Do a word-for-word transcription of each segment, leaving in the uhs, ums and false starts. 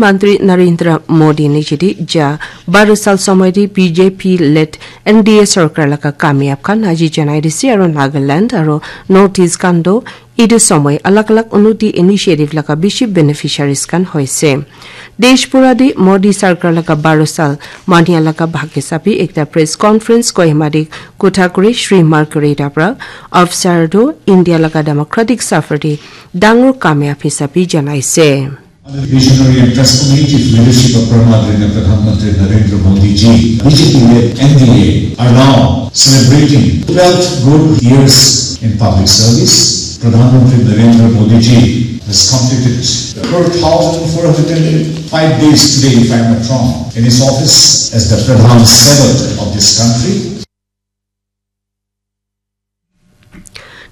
Mantri Narendra Modi nichiti ja baru sal somoi di B J P led N D A sarkar laga kamyab khan aji janai dise aro Nagaland aro North East khan do idu somoi alag alag unnoti initiative laga bishi beneficiaries khan hoise. Desh pura di Modi sarkar laga baru sal mania laga bhag hisabi ekta press conference Kohima di kotha kuri Shri Margareta pra afsar do India laga democratic safar di dangor kamyab hisabi janaise. Under the visionary and transformative leadership of Pradhan Mantri Narendra Modi ji, B J P led N D A are now celebrating twelve good years in public service. Pradhan Mantri Narendra Modi ji has completed four thousand four hundred and five days today, if I am not wrong, in his office as the Pradhan Sevak of this country.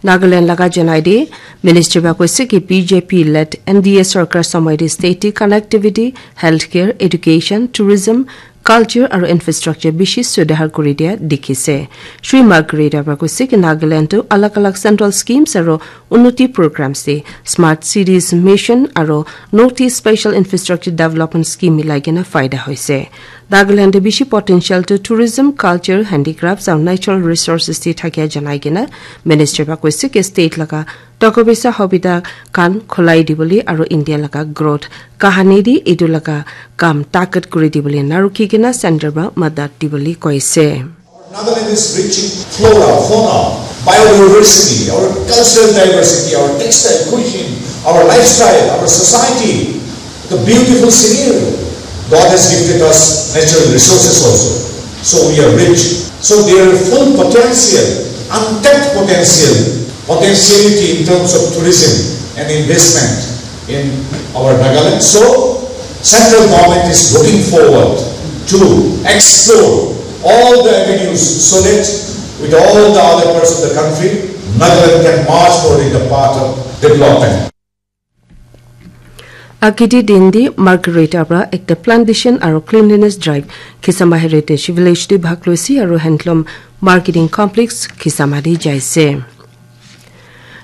Nagaland laga janai de Minister ba koise ki B J P led N D A sarkar somoi de state de connectivity, healthcare, education, tourism, culture aro infrastructure bishi sudhar kuri dia dikhise. Shri Margareta ba koise ki Nagaland to alag alag central schemes aro unnoti programs de smart cities mission aro North East special infrastructure development scheme milai kena faida hoise. Nagaland de bishi potential to tourism, culture, handicrafts and natural resources de thakia janai kena Minister ba koise ke state laga toka pisa hobita khan khulai dibole aro India laga growth kahani de etu laga kam takat kuri dibole narukhi kena center ba madat dibole koise. Nagaland is rich in flora, fauna, biodiversity, our cultural diversity, our textile, cuisine, our lifestyle, our society, the beautiful scenery. God has gifted us natural resources also. So we are rich. So their full potential, untapped potential, potentiality in terms of tourism and investment in our Nagaland. So, central government is looking forward to explore all the avenues so that with all the other parts of the country, Nagaland can march forward in the path of development. Akidi din di Margareta pra ekta plantation aro cleanliness drive Kisama Heritage Village di bhag loisi aro Handloom Marketing Complex Kisama di jaise.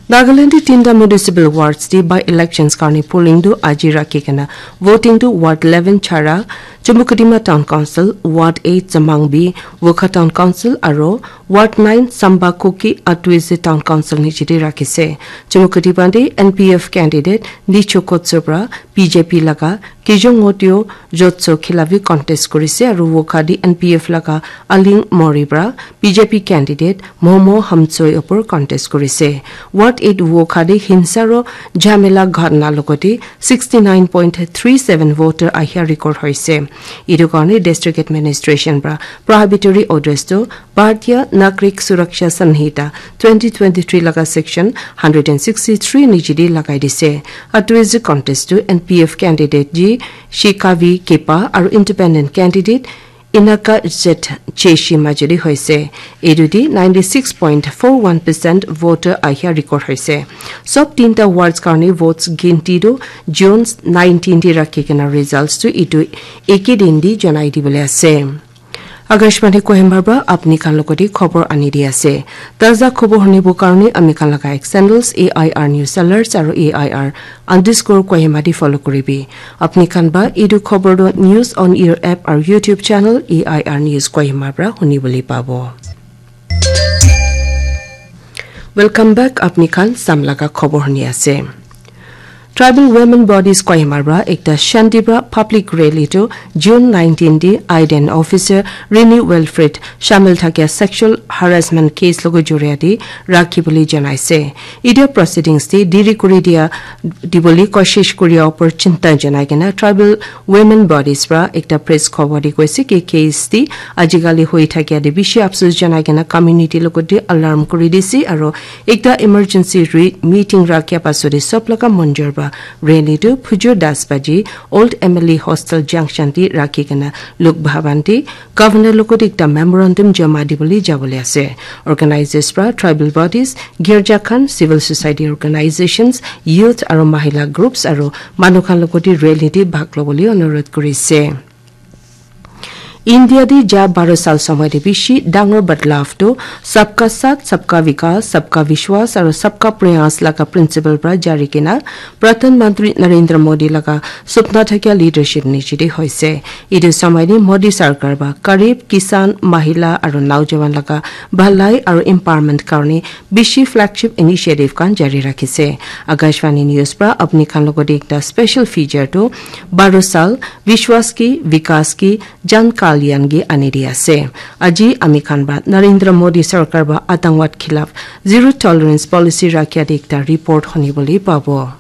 Nagaland di tinta municipal wards di by elections karni polling tu aji rakhi kena voting tu ward eleven Chara, Chumukedima Town Council, ward eight Chamangbi, Wokha Town Council aro ward nine Samba Kuki Atuize Town Council nichiti rakhise. Chumukedima di N P F candidate Nicho Kotso pra B J P laga Kijong Ngotio Jotso Khilavi contest kurise aro Wokha di N P F laga Aling Mori pra B J P candidate Momo Hamchoi opor contest kurise. Ward eight Wokha de hinsa aro jhamela ghatna logote sixty nine point three seven voter ahia record hoise. Etu karne district administration pra prohibitory orders to Bharatiya Nagrik Suraksha Sanhita twenty twenty-three laga section hundred and sixty-three nijidi lagai dise. Atuize contest to N P F candidate ji Shikavi Kepa aro independent candidate Inaka Zet Cheshi majuri hoise. Etu di ninety six point four one percent voter ahia record hoise. Sob tinta wards karni votes ginti tu June nineteen di rakhi kena results tu etu eke din di janai dibole ase. Akashvani Kohima pra apni khan logote khobor ani di ase. Taza khobor hunibo karne ami khan laga ek channels A I R News Alerts aro A I R underscore Kohima di follow kuribi. Apni khan ba etu khobor do News on Air app aru YouTube channel A I R News Kohima pra huni bole pabo. Welcome back, apni khan sam laga khobor huni ase. Tribal Women Bodies Kohima pra ekta Shanti pra public rally to June nineteen di Aiden officer Rini Wilfred shamil thakia sexual harassment case logo juriya di rakhi bole janaise. Etia proceedings te deri kuri dia dibole koshish kuria upor chinta janai kena tribal women bodies pra ekta press khobor di koise ki case di ajikali hoi thakia de bishi afsus janai kena community logot de alarm kuri dise aro ekta emergency re- meeting rakhia pasode sob laga monjor pra rally tu phujur das baji Old M L A Hostel Junction di rakhi kena Lok Bhavan di Governor logot ekta memorandum jama dibole jabole ase. Organizers pra tribal bodies, girja khan, civil society organizations, youth aro mahila groups aro manu khan logot rally te bhag lobole onurodh kurise. India te ja baro sal somoi te bishi dangor badlav tu Sabka Saath, Sabka Vikas, Sabka Vishwas aru Sabka Prayas laga principle pra jari kena Pradhan Mantri Narendra Modi laga supna thakia leadership niche te hoise. Etu somoi te Modi sarkar ba garib, kisan, mahila aru naujawan laga bhalai aru empowerment karne bishi flagship initiative khan jari rakhise. Akashvani News pra apni khan logot te ekta special feature tu baro sal Vishwas ki Vikas ki Jan Kalyan ki ani di ase. Aji ami khan ba Narendra Modi sarkar ba atangwad khilaf zero tolerance policy rakhia te ekta report honi bole pabo.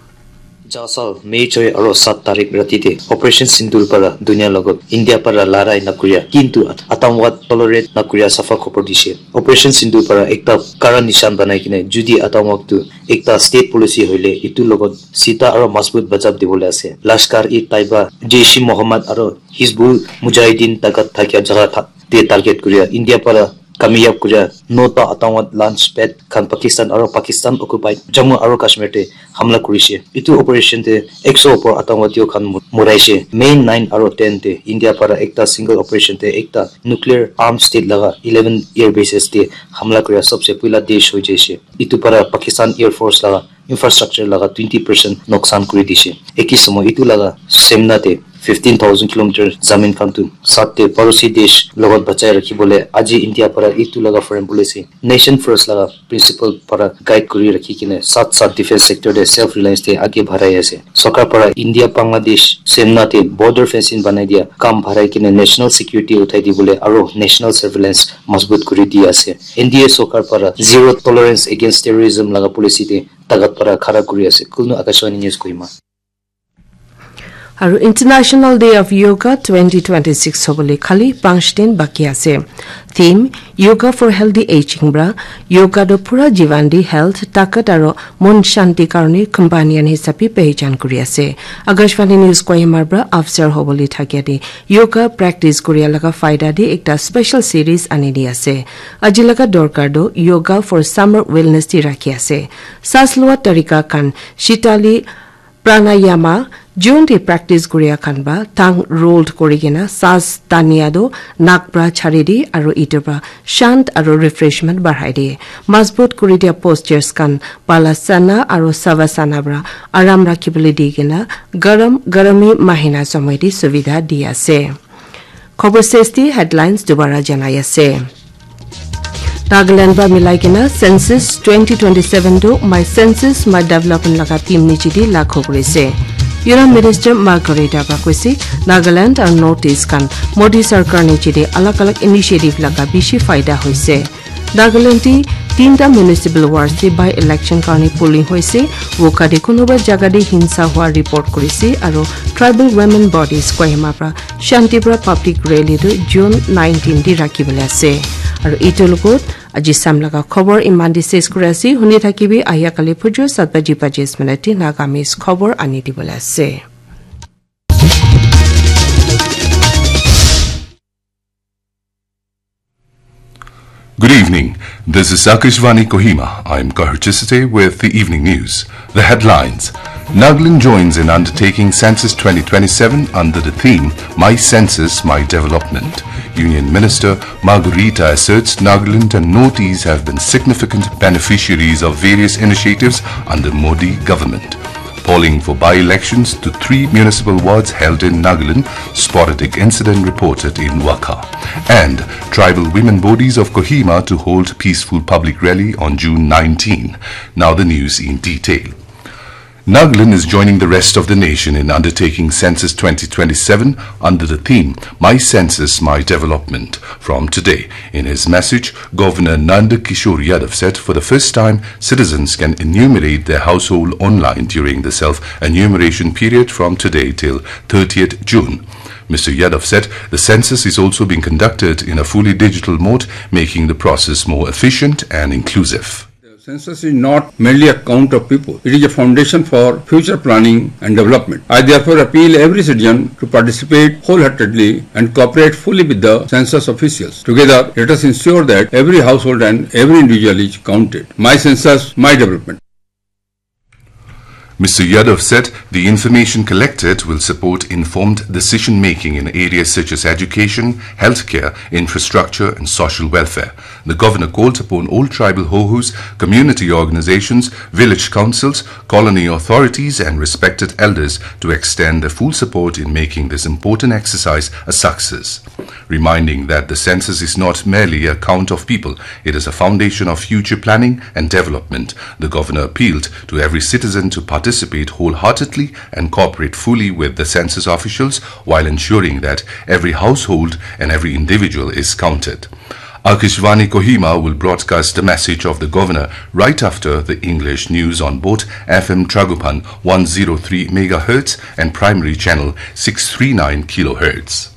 Ja sal May choi aro sat tarik rati te Operation Sindoor para dunia logot India para larai nakuria kintu at- atangwad tolerate nakuria safa khobor dishe. Operation Sindoor para ekta kara nishan banai kine judi atangwad tu ekta state policy hoile itu logot sita aro masbut bajab dibole ase. Lashkar-e-Taiba, Jaish-e-Mohammed aro Hizbul Mujahideen takat thakia jaga tha- te target kuria India para kamiyab kuria nota atangwad launch pad khan Pakistan aro Pakistan occupied Jammu aro Kashmir te hamla kurishe. Itu operation te ekso opor atangwadiyo khan mu- muraishe. May nine aro ten te India para ekta single operation te ekta nuclear armed state laga eleven air bases te hamla kuria sabse puila desh hoi jaishe. Itu para Pakistan Air Force laga infrastructure laga twenty percent noksan kuri dishe. Eki somoy itu laga semna te fifteen thousand kilometer zamin khan tu sat te parosi desh logot bachai rakhi bole aji India para itu laga foreign policy nation first laga principle para guide kuri rakhi kine sat sat defense sector te self reliance te age bharai ase. Sarkar para India Bangladesh semna te border fencing banai dia kam bharai kine national security uthai di bole aro national surveillance masbut kuri di ase. N D A sarkar para zero tolerance against terrorism laga policy te takat para khara kuri ase. Kulnu Akashvani News Kohima. Aru International Day of Yoga twenty twenty-six hobole khali panch din baki ase. Theme Yoga for Healthy Aging pra yoga do pura jivan di health, takat aru mon shanti karone companion hisabe pehijan kuri ase. Akashvani News Kohima pra afsar hobole thakia di yoga practice kuria laga faida di ekta special series ani di ase. Aji laga dorkar do yoga for summer wellness di rakhi ase. Sas lua tarika khan shitali pranayama, jun te practice kuria khan ba tang rolled kuri kena sas tania do nak pra chari di aru itu pra shant aru refreshment bahai di. Masbut kuri dia postures khan balasana aru savasana pra aram rakhibole di kena garam garami mahina somoi di suvidha di ase. Khobor sesti headlines dubara janai ase. Nagaland ba milai kena census twenty twenty-seven tu my census my development laga theme niche di lakho kurise. Union Minister Margareta ba koise Nagaland aru North East khan Modi sarkar niche di alag alag initiative laga bishi faida hoise. Nagaland te tinta municipal wards te by election karne polling hoise. Woka te kunuba jaga te hinsa hua report kurise aru tribal women bodies Kohima pra Shantipura public rally tu June nineteen te rakhi bole ase. Aru itu logot aji sam laga khobor iman di ses kuri ase. Huni thakibi ahia kali phujur sat baji pachis minute te Nagamese khobor ani di bole ase. Good evening. This is Akashvani Kohima. I'm Kahar Chisate with the evening news. The headlines. Nagaland joins in undertaking Census twenty twenty-seven under the theme My Census, My Development. Union Minister Margareta asserts Nagaland and Northeast have been significant beneficiaries of various initiatives under Modi government. Polling for by-elections to three municipal wards held in Nagaland, sporadic incident reported in Waka. And tribal women bodies of Kohima to hold peaceful public rally on June nineteen. Now the news in detail. Nagaland is joining the rest of the nation in undertaking Census twenty twenty-seven under the theme My Census, My Development. From today, in his message, Governor Nanda Kishore Yadav said for the first time, citizens can enumerate their household online during the self-enumeration period from today till thirtieth June. Mister Yadav said the census is also being conducted in a fully digital mode, making the process more efficient and inclusive. The census is not merely a count of people. It is a foundation for future planning and development. I therefore appeal every citizen to participate wholeheartedly and cooperate fully with the census officials. Together, let us ensure that every household and every individual is counted. My census, my development. Mister Yadav said the information collected will support informed decision making in areas such as education, healthcare, infrastructure, and social welfare. The governor called upon all tribal hohus, community organizations, village councils, colony authorities, and respected elders to extend their full support in making this important exercise a success. Reminding that the census is not merely a count of people, it is a foundation of future planning and development. The governor appealed to every citizen to participate wholeheartedly and cooperate fully with the census officials while ensuring that every household and every individual is counted. Akashvani Kohima will broadcast the message of the governor right after the English news on both F M Tragopan one zero three megahertz and primary channel six three nine kilohertz.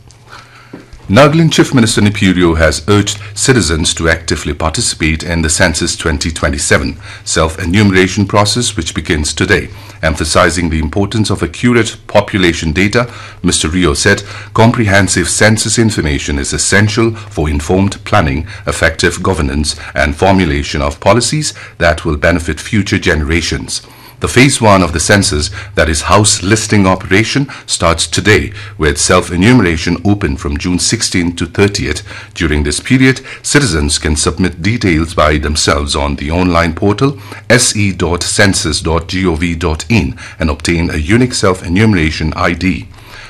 Nagaland Chief Minister Neiphiu Rio has urged citizens to actively participate in the Census twenty twenty-seven self-enumeration process, which begins today. Emphasizing the importance of accurate population data, Mister Rio said comprehensive census information is essential for informed planning, effective governance, and formulation of policies that will benefit future generations. The phase one of the census, that is house listing operation, starts today, with self-enumeration open from June sixteenth to thirtieth. During this period, citizens can submit details by themselves on the online portal S E dot census dot gov dot in and obtain a unique self-enumeration I D.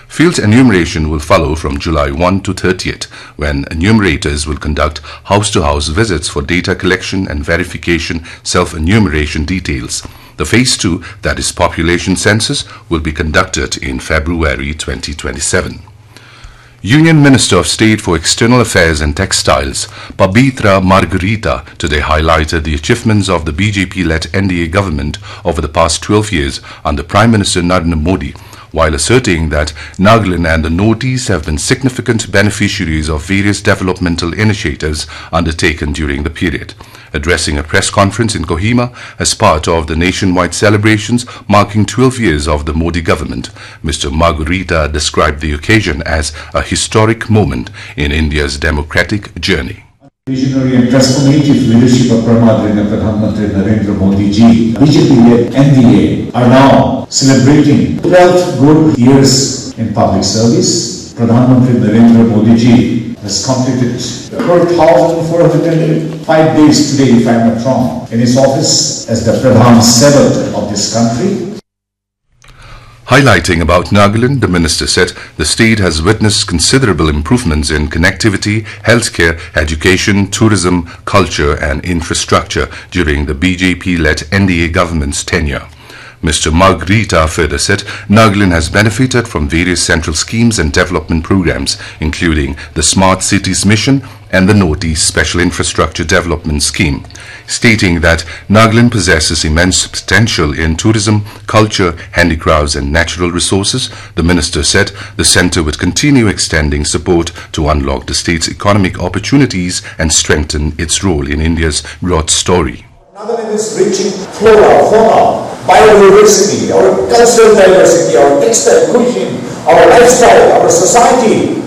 Field enumeration will follow from July one to thirtieth, when enumerators will conduct house-to-house visits for data collection and verification self-enumeration details. The phase two, that is population census, will be conducted in February twenty twenty-seven. Union Minister of State for External Affairs and Textiles, Pabitra Margherita, today highlighted the achievements of the B J P-led N D A government over the past twelve years under Prime Minister Narendra Modi, while asserting that Nagaland and the Northeast have been significant beneficiaries of various developmental initiatives undertaken during the period. Addressing a press conference in Kohima as part of the nationwide celebrations marking twelve years of the Modi government, Mister Margherita described the occasion as a historic moment in India's democratic journey. Visionary and transformative leadership of Prime Minister Pradhan Mantri Narendra Modi ji, B J P-led N D A are now celebrating twelve good years in public service. Pradhan Mantri Narendra Modi ji has completed four thousand four hundred and five days today, if I'm not wrong, in his office as the Pradhan Sevak of this country. Highlighting about Nagaland, the minister said the state has witnessed considerable improvements in connectivity, healthcare, education, tourism, culture, and infrastructure during the B J P-led N D A government's tenure. Mister Margherita further said Nagaland has benefited from various central schemes and development programs, including the Smart Cities Mission and the Northeast Special Infrastructure Development Scheme. Stating that Nagaland possesses immense potential in tourism, culture, handicrafts, and natural resources, the minister said the centre would continue extending support to unlock the state's economic opportunities and strengthen its role in India's growth story. Nagaland is rich in flora, fauna, biodiversity, our cultural diversity, our textile, cuisine, our lifestyle, our society,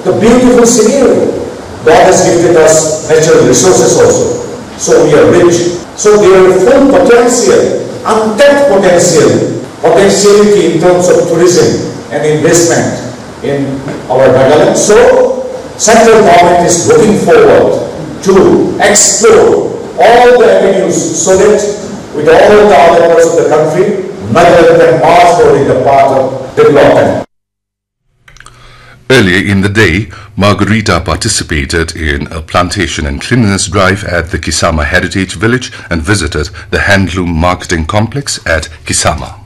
the beautiful scenery. God has gifted us natural resources also. So we are rich. So their full potential, untapped potential, potentiality in terms of tourism and investment in our Nagaland. So central government is looking forward to explore all the avenues so that with all the other parts of the country, Nagaland can march forward in the path of development. Earlier in the day, Margherita participated in a plantation and cleanliness drive at the Kisama Heritage Village and visited the Handloom Marketing Complex at Kisama.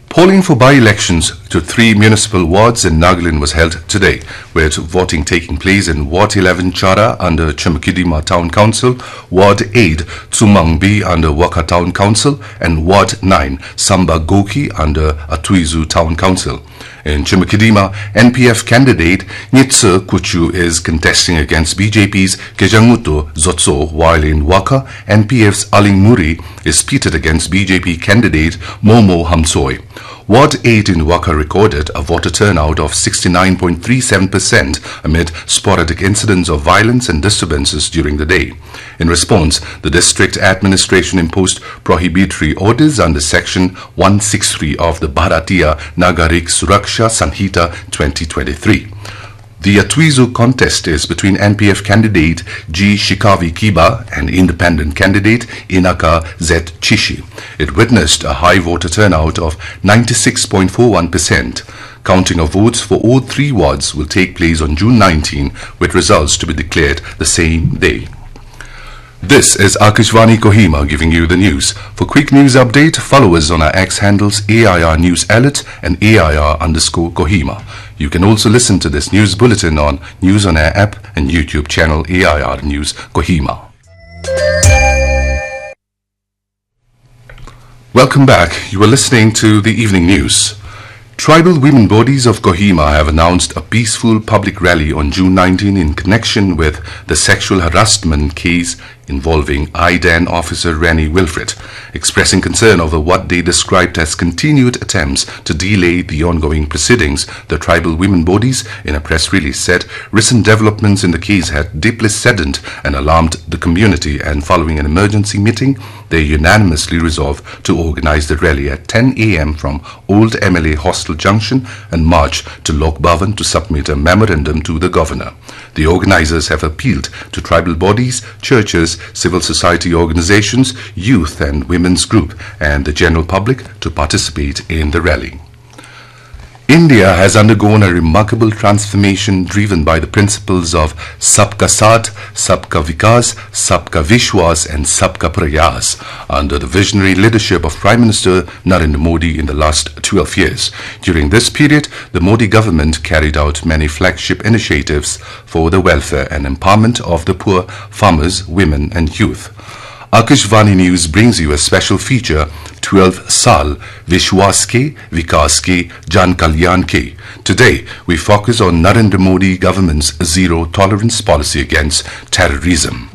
Polling for by-elections to three municipal wards in Nagaland was held today, with voting taking place in Ward eleven Chara under Chemakedima Town Council, Ward eight Tsumangbi under Waka Town Council, and Ward nine Samba Goki under Atuizu Town Council. In Chemakedima, N P F candidate Nyitsa Kuchu is contesting against B J P's Kejanguto Zotso, while in Waka, N P F's Aling Muri is pitted against B J P candidate Momo Hamsoi. Ward eight in Waka recorded a voter turnout of sixty-nine point three seven percent amid sporadic incidents of violence and disturbances during the day. In response, the district administration imposed prohibitory orders under Section one six three of the Bharatiya Nagarik Suraksha Sanhita twenty twenty-three. The Atwizu contest is between N P F candidate G Shikavi Kiba and independent candidate Inaka Z Chishi. It witnessed a high voter turnout of ninety-six point four one percent. Counting of votes for all three wards will take place on June nineteen, with results to be declared the same day. This is Akashvani Kohima giving you the news. For quick news update, follow us on our X handles A I R News Alert and A I R underscore Kohima. You can also listen to this news bulletin on News on Air app and YouTube channel A I R News Kohima. Welcome back. You are listening to the evening news. Tribal women bodies of Kohima have announced a peaceful public rally on June nineteen in connection with the sexual harassment case involving IDAN officer Rani Wilfred. Expressing concern over what they described as continued attempts to delay the ongoing proceedings, the tribal women bodies, in a press release, said recent developments in the case had deeply saddened and alarmed the community, and following an emergency meeting, they unanimously resolved to organize the rally at ten a m from Old M L A Hostel Junction and march to Lok Bhavan to submit a memorandum to the governor. The organizers have appealed to tribal bodies, churches, civil society organizations, youth and women's group, and the general public to participate in the rally. India has undergone a remarkable transformation driven by the principles of Sabka Saath, Sabka Vikas, Sabka Vishwas, and Sabka Prayas under the visionary leadership of Prime Minister Narendra Modi in the last twelve years. During this period, the Modi government carried out many flagship initiatives for the welfare and empowerment of the poor, farmers, women, and youth. Akashvani News brings you a special feature, twelve Saal, Vishwas Ke, Vikas Ke, Jan Kalyan Ke. Today, we focus on Narendra Modi government's zero tolerance policy against terrorism.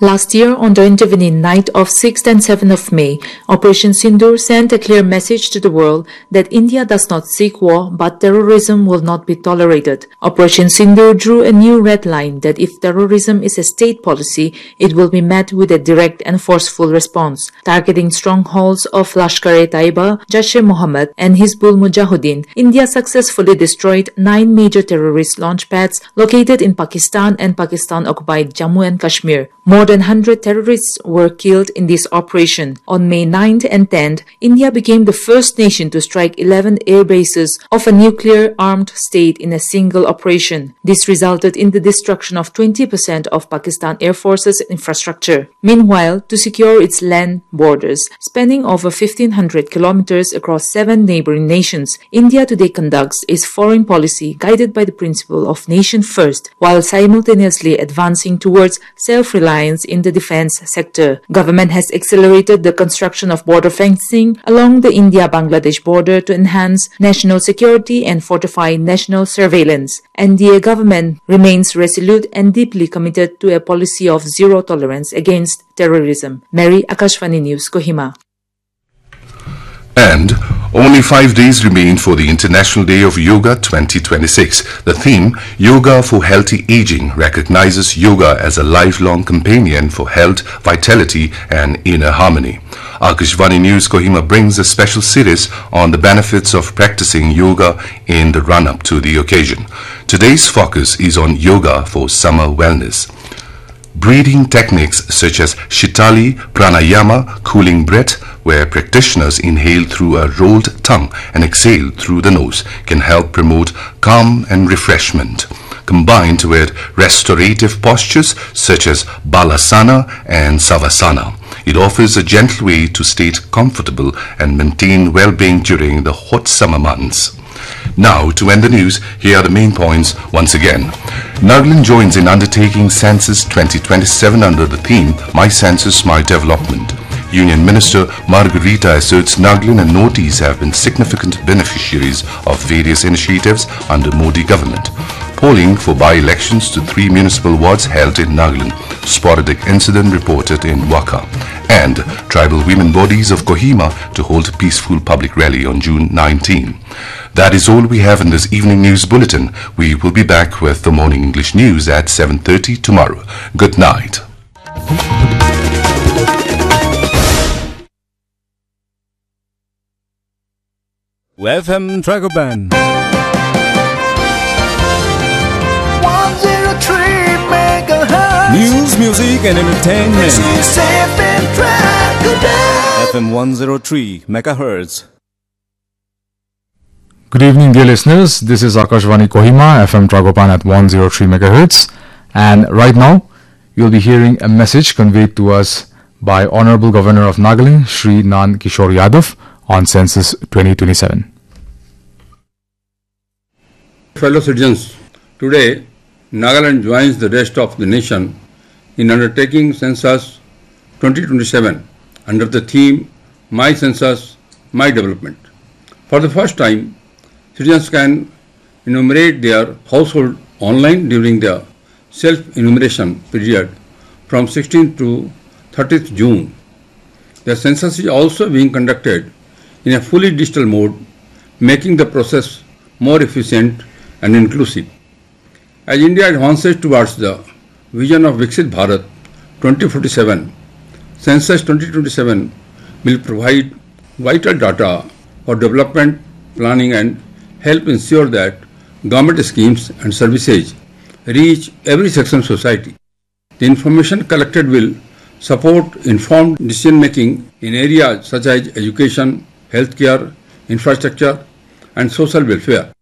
Last year, on the intervening night of sixth and seventh of May, Operation Sindoor sent a clear message to the world that India does not seek war, but terrorism will not be tolerated. Operation Sindoor drew a new red line that if terrorism is a state policy, it will be met with a direct and forceful response. Targeting strongholds of Lashkar-e-Taiba, Jaish-e-Mohammed, and Hizbul Mujahideen, India successfully destroyed nine major terrorist launch pads located in Pakistan and Pakistan-occupied Jammu and Kashmir. More than hundred terrorists were killed in this operation. On May ninth and tenth, India became the first nation to strike eleven air bases of a nuclear-armed state in a single operation. This resulted in the destruction of twenty percent of Pakistan Air Force's infrastructure. Meanwhile, to secure its land borders, spanning over fifteen hundred kilometers across seven neighboring nations, India today conducts its foreign policy guided by the principle of nation first, while simultaneously advancing towards self-reliance in the defense sector. Government has accelerated the construction of border fencing along the India-Bangladesh border to enhance national security and fortify national surveillance. N D A government remains resolute and deeply committed to a policy of zero tolerance against terrorism. Mary, Akashvani News, Kohima. And only five days remain for the International Day of Yoga twenty twenty-six. The theme, Yoga for Healthy Aging, recognizes yoga as a lifelong companion for health, vitality, and inner harmony. Akashvani News Kohima brings a special series on the benefits of practicing yoga in the run-up to the occasion. Today's focus is on yoga for summer wellness. Breathing techniques such as Shitali Pranayama, cooling breath, where practitioners inhale through a rolled tongue and exhale through the nose, can help promote calm and refreshment. Combined with restorative postures such as Balasana and Savasana, it offers a gentle way to stay comfortable and maintain well-being during the hot summer months. Now, to end the news, here are the main points once again. Nagaland joins in undertaking Census twenty twenty-seven under the theme, My Census, My Development. Union Minister Margarita asserts Nagaland and Northeast have been significant beneficiaries of various initiatives under Modi government. Polling for by-elections to three municipal wards held in Nagaland. Sporadic incident reported in Waka. and tribal women bodies of Kohima to hold a peaceful public rally on June nineteen. That is all we have in this evening news bulletin. We will be back with the morning English news at seven thirty tomorrow. Good night. F M Dragoban. One zero three megahertz. News, music, and entertainment. This is F M Dragoban. F M one zero three megahertz. Good evening, dear listeners. This is Akashvani Kohima, F M Dragoban at one zero three megahertz. And right now, you'll be hearing a message conveyed to us by Honorable Governor of Nagaland, Shri Nan Kishore Yadav, on Census twenty twenty-seven. Fellow citizens, today Nagaland joins the rest of the nation in undertaking Census twenty twenty-seven under the theme My Census, My Development. For the first time, citizens can enumerate their household online during the self-enumeration period from sixteenth to thirtieth June. The census is also being conducted in a fully digital mode, making the process more efficient and inclusive. As India advances towards the vision of Viksit Bharat twenty forty-seven, Census twenty twenty-seven will provide vital data for development planning and help ensure that government schemes and services reach every section of society. The information collected will support informed decision making in areas such as education, healthcare, infrastructure, and social welfare.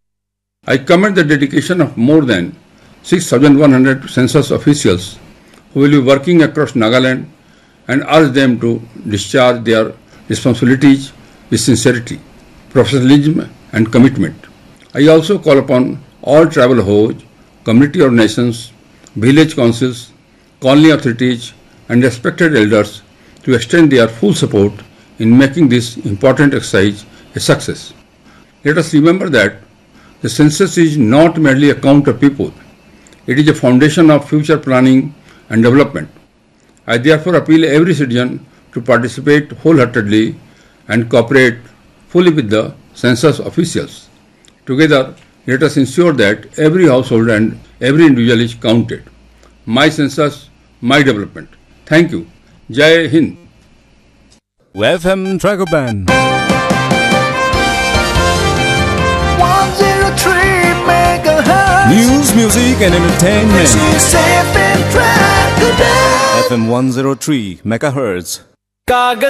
I commend the dedication of more than six thousand one hundred census officials who will be working across Nagaland and urge them to discharge their responsibilities with sincerity, professionalism, and commitment. I also call upon all tribal Hoj, community organizations, village councils, colony authorities, and respected elders to extend their full support in making this important exercise a success. Let us remember that the census is not merely a count of people, it is a foundation of future planning and development. I therefore appeal every citizen to participate wholeheartedly and cooperate fully with the census officials. Together, let us ensure that every household and every individual is counted. My census, my development. Thank you. Jai Hind. F M Dragoban. One zero three megahertz. News, music, and entertainment. This is F M Dragoban. F M one zero three megahertz. कागज